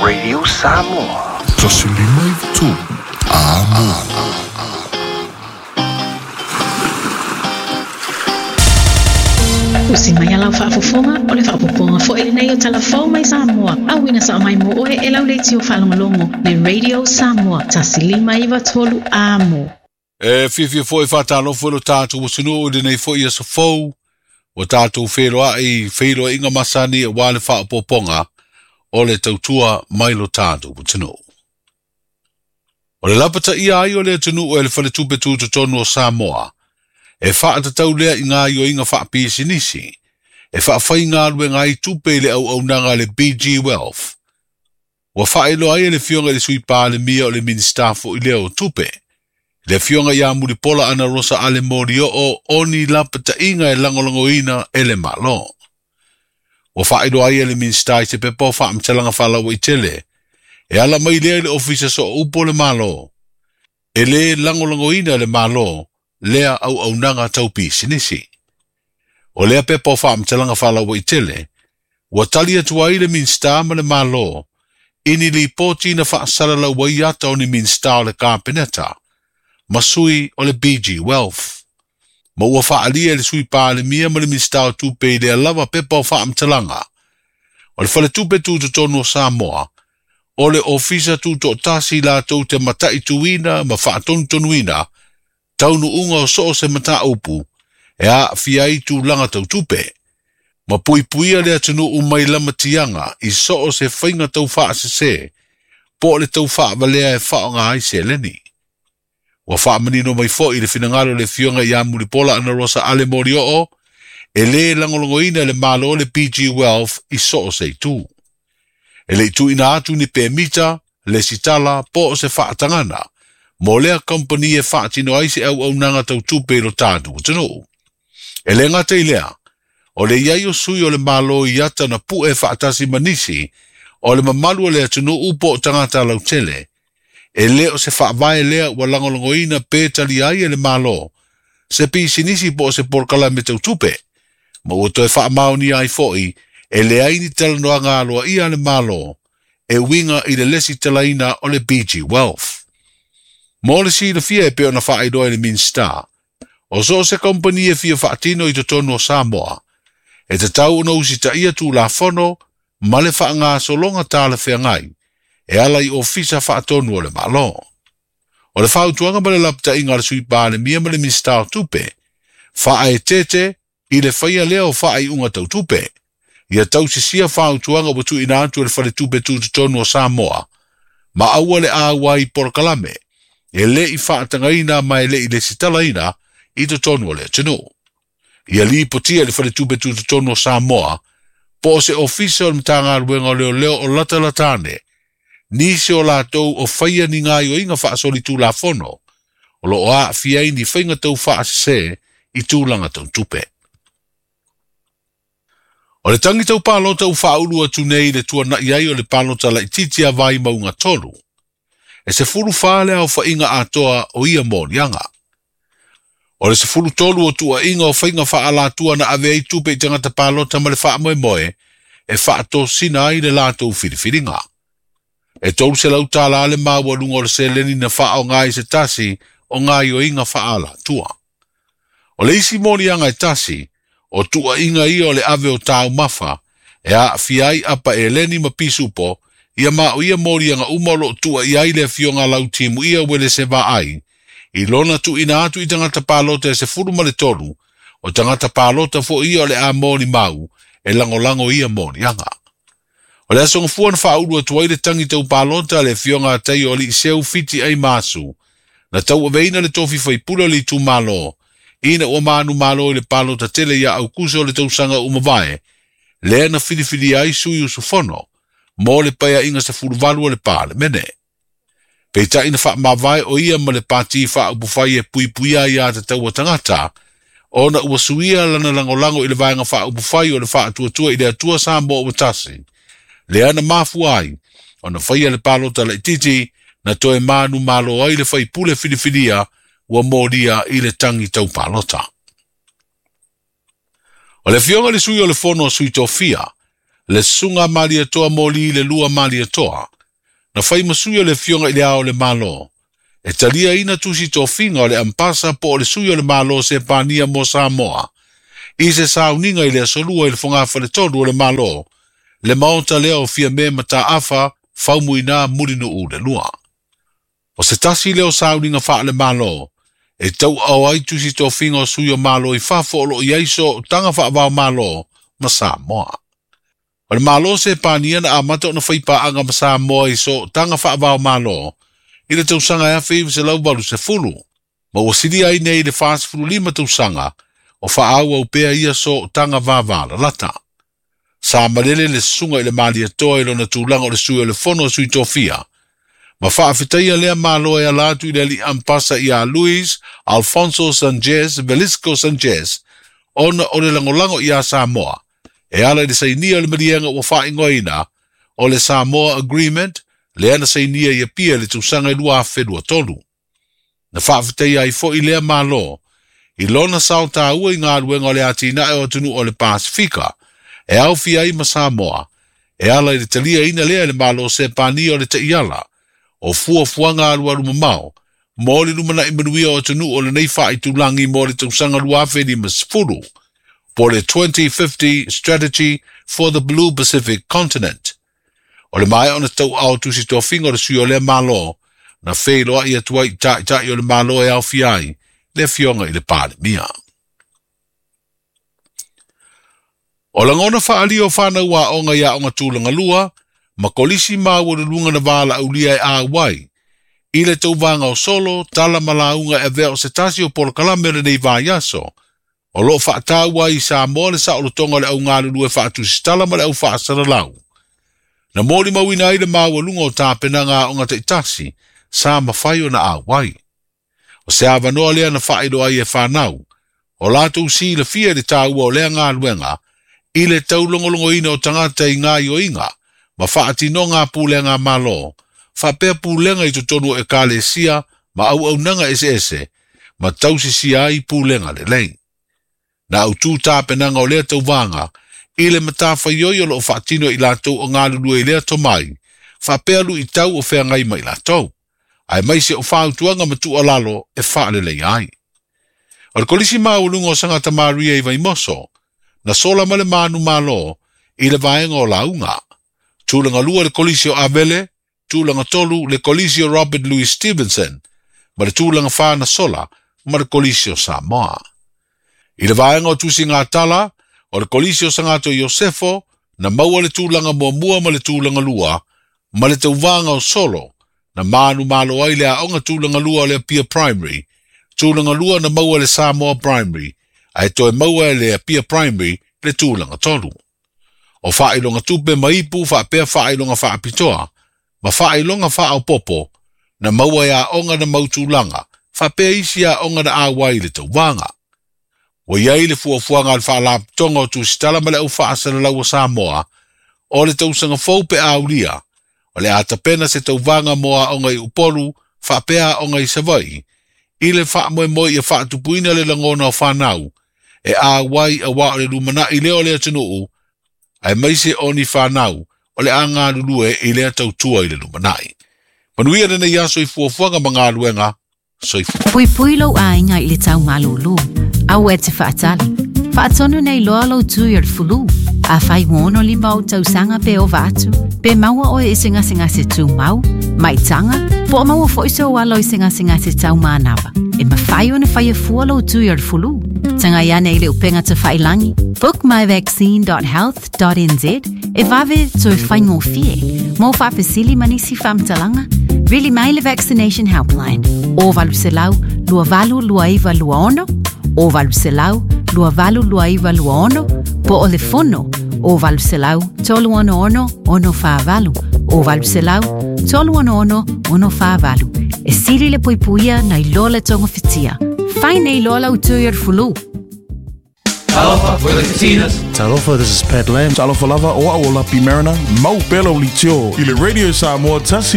Radio Samoa. 153 Amo. Usi mai a lau faafofoga o le faaopoopoga foi lenei o Tala Fou mai Samoa, auina sao mai mo oe e lau leitio faalogologo le Radio Samoa 153 Amo. E fiafia foi e faatalofa i lo tatou atunuu i lenei foi aso fou, ua tatou feiloai i feiloaiga masani aua le faaopoopoga o le tautua mai lo tatou atunuu. O le lapataia ai o le atunuu e le Faletupe Tutotonu o Samoa, e faatatau lea i gaoioiga faapisinisi, e faafaigaluega ai tupe i le auaunaga a le BG Wealth. Ua faailoa ai e le Afioga i le Sui Palemia o le Minisita foi lea o Tupe, le Afioga ia Mulipola Anarosa Ale Molioo o ni lapataiga e lagolagoina e le Malo. Ua faailoa ai e le Minisita i se pepa o faamatalaga faalauaitele, e ala mai lea i le Ofisa Sooupu o le Malo, e lē lagolagoina e le Malo lea auaunaga tau pisinisi. O lea pepa o faamatalaga faalauaitele, ua tali atu ai le Minisita ma le Malo i ni lipoti na faasalalau ai ata o ni Minisita o le Kapeneta ma sui o le BG Wealth. Ma ua faaalia e le Sui Palemia ma le Minisita o Tupe i lea lava pepa o faamatalaga, o le Faletupe Tutotonu o Samoa, o le Ofisa Tutoatasi latou te mataituina ma faatonutonuina taunuuga o so o se mataupu e aafia ai tulaga tau tupe, ma puipuia le atunuu mai lamatiaga i so o se faiga tau faasese po o le tau faavalea e faaaoga ai seleni. Ua faamanino mai foi le finagalo o le Afioga ia Mulipola Anarosa Ale Molioo, e lē lagolagoina e le Malo le BG Wealth i so o se itu. E le i tuuina atu ni pemita, lesitala po o se faatagana mo lea kamupani e faatino ai se auaunaga tau tupe i lo tatou atunuu. E le gata i lea, o le i ai o sui o le Malo i ata na pue faatasi ma nisi o le mamalu o le atunuu po o tagata lautele, e le o se faavae lea ua lagolagoina pe talia ai e le Malo se pisinisi po o se polokalame tau tupe, ma ua toe faamaonia ai foi e leai ni talanoaga aloaia a le Malo e uiga i le lesitalaina o le BG Wealth. Mo le silafia e pei ona faailoa e le Minisita, o so o se kamupani e fia faatino i totonu o Samoa, e tatau ona usitaia Tulafono ma le faagasologa talafeagai e ala i Ofisa Faatonu o le Malo. O le fautuaga ma le lapataiga a le Sui Palemia ma le Minisita o Tupe, faaeteete i le faia lea o faaiuga tau tupe, ia tausisia fautuaga ua tuuina atu e le Faletupe Tutotonu o Samoa, ma aua le auai i polokalame e le i faatagaina ma e le i lesitalaina i totonu o le atunuu. Ia lipotia i le Faletupe Tutotonu o Samoa po o se Ofisa o le Matagaluega o Leoleo o latalata ane, nisi o latou o faia ni gaoioiga faasolitulafono o lo o aafia ai ni faiga tau faasese i tulaga tau tupe. O le tagi tau palota ua faaulu atu nei i le tuanai ai o le palota laitiiti a Vaimauga 3, e 14 le aofaiga atoa o ia moliaga. O le 13 o tuuaiga o faiga faaalatua na ave ai tupe i tagata palota ma le faamoemoe e faatosina ai le latou filifiliga. E 300 tala le maualuga o le seleni na faaaoga ai se tasi o gaoioiga faaalatua. O le isi moliaga e tasi, o tuuaiga ia o le ave o taumafa e aafia ai apa eleni ma pisupo, ia ma o ia moliaga uma o loo tuuaia ai le Afioga Lautimuia Uelese Vaai, i lona tuuina atu i tagata palota e 13, o tagata palota foi ia o le a molimau e lagolago ia moliaga. O le aso Gafua na faaulu atu ai le tagi tau palota a le Afioga a Taio Aliiseu Fiti Ai Masu, na tauaveina le tofi faipule o le itumalo, ina ua manumalo i le palota tele ia Aukuso o le tausaga ua mavae, lea na filifilia ai sui usufono mo le paeaiga 18 o le Palemene. Peitai na faamavae o ia ma le pati faaupufai e puipuia ai aiatatau a tagata, ona ua suia lana lagolago i le vaega faaupufai o le Faatuatua i le Atua Samoa ua Tasi, lea na mafua ai ona faia le palota laitiiti na toe manumalo ai le faipule filifilia ua molia i le tagi tau palota. O le Afioga i le Sui o le Fono a Sui Tofia, le Susuga Malietoa Moli le Lua Malietoa, Na fai ma sui o le Afioga i Le Ao o le Malo, e taliaina tusi tofiga o le Ampasa po o le Sui o le Malo o Sepania mo Samoa, i se sauniga i le Aso Lua i le Fogafaletolu o le Malo, le Maota lea o Fiame Mataafa Faumuina Mulinuu le Lua. O se tasi lea o sauniga faale-Malo, e tauaao ai tusi tofiga o sui o Malo i fafo o lo o i ai sootaga faava-o-Malo ma Samoa. O le Malo Sepania na amata ona fai paaga ma Samoa i sootaga faava-o-Malo i le tausaga 1980, ma ua silia ai nei le 45 tausaga o faaauau pea ia sootaga vavalalata. Sa malele le susuga i le Malietoa i lona tulaga o le sui o le Fono a Sui Tofia, ma faafetaia lea Malo e ala atu i le alii Ampasa ia Luis Alfonso Sanchez Velisco Sanchez ona o le lagolago iā Samoa e ala i le sainia o le maliega ua faaigoaina o le Samoa Agreement lea na sainia i Apia i le tausaga 2023. Na faafetaia ai foi lea Malo i lona sao taua i galuega o le atinae o atunuu o le Pasefika e aofia ai ma Samoa, e ala i le taliaina lea e le Malo Sepania o le Taiala o fuafuaga alualu mamao mo le lumanai manuia o atunuu o lenei faaitulagi mo le tausaga 2050, po o le 2050 Strategy for the Blue Pacific Continent. O le maea ona tauaao tusi tofiga o le sui o lea Malo, na feiloai atu ai i taitai o le Malo e aofia ai le Afioga i le Palemia. O lagona faaalia o fanau aoga i aoga tulaga lua ma kolisi maualuluga na valaaulia e auai i le tauvaga o solo, tala ma lauga e avea o se tasi o polokalame o lenei vaiaso, o lo o faataua ai i Samoa le saolotoga o le augalulue faatusitala ma le au faasalalau. Na molimauina ai le maualuga o tapenaga aoga taitasi sa mafai ona auai. O se avanoa lea na faailoa ai e fanau, o latou silafia i le taua o lea galuega i le taulogologoina o tagata i gaoioiga ma faatinoga a pulega a Malo, faapea pulega i totonu o ekalesia ma auaunaga eseese, ma tausisia ai pulega lelei. Na autu tapenaga o lea tauvaga i le matafaioi o lo o faatino e i latou o galulue i lea tomai, faapea luitau o feagai ma i latou, aemaise o fautuaga ma tuualalo e faaleleia ai. O le Kolisi Maualuga o Sangata Maria i Vaimoso, na sola ma le manumalo i le vaega o lauga. Tulaga lua le Kolisi o Avele, tulaga tolu le Kolisi o Robert Louis Stevenson, ma le tulaga fa na sola ma le Kolisi o Samoa. I le vaega o tusiga tala, o le Kolisi o Sagato Iosefo na maua le tulaga muamua ma le tulaga lua, ma le tauvaga o solo, na manumalo ai le aoga tulaga lua o le Apia Primary, tulaga lua na maua e le Samoa Primary, ae toe maua e le Apia Primary le tulaga tolu. O faailoga tupe ma ipu faapea faailoga faapitoa ma faailoga faaopoopo na maua e aoga na mau tulaga faapea isi aoga na auai i le tauvaga. Ua i ai le fuafuaga a le Faalapotopotoga o Tusitala ma le Au Faasalalau a Samoa o le tausaga fou pe a aulia, o le a tapena se tauvaga mo aoga i Upolu faapea aoga i Savaii i le faamoemoe ia faatupuina le lagona o fanau e auai auā o le lumanai lea o le atunuu aemaise o ni fanau o le a galulue i lea tautua i le lumanai. Manuia lenei aso i fuafuaga ma galuega. Soifua. Puipui lou aiga i le tau malūlū. Aua e te faatali. Faatonu nei loa lou tui o le fulu. Afai ua 65 ou tausaga pe ova atu, pe maua oe i se gasegase tumau, maitaga, po o maua foi sou alo i se gasegase tau manava, e mafai ona faia fua lou tui o le fulu. Tagai ane i le upega tafailangi bookmyvaccine.health.nz e vave toe faigofie. Mo faafesili ma nisi faamatalaga, vili mai le Vaccination Helpline o 800 2829 26 o 800 2829 26 po o le fono o 800 366 648 o 800 366 648. E sili le puipuia nai lo le togafitia. Fai nei loa lau tui o le fulu. Talofa, we're the Katinas. Talofa, this is Pat Lam. Talofa lava, o au o Lapi Mariner, mau pea lau leitio i le Radio Samoa tasi.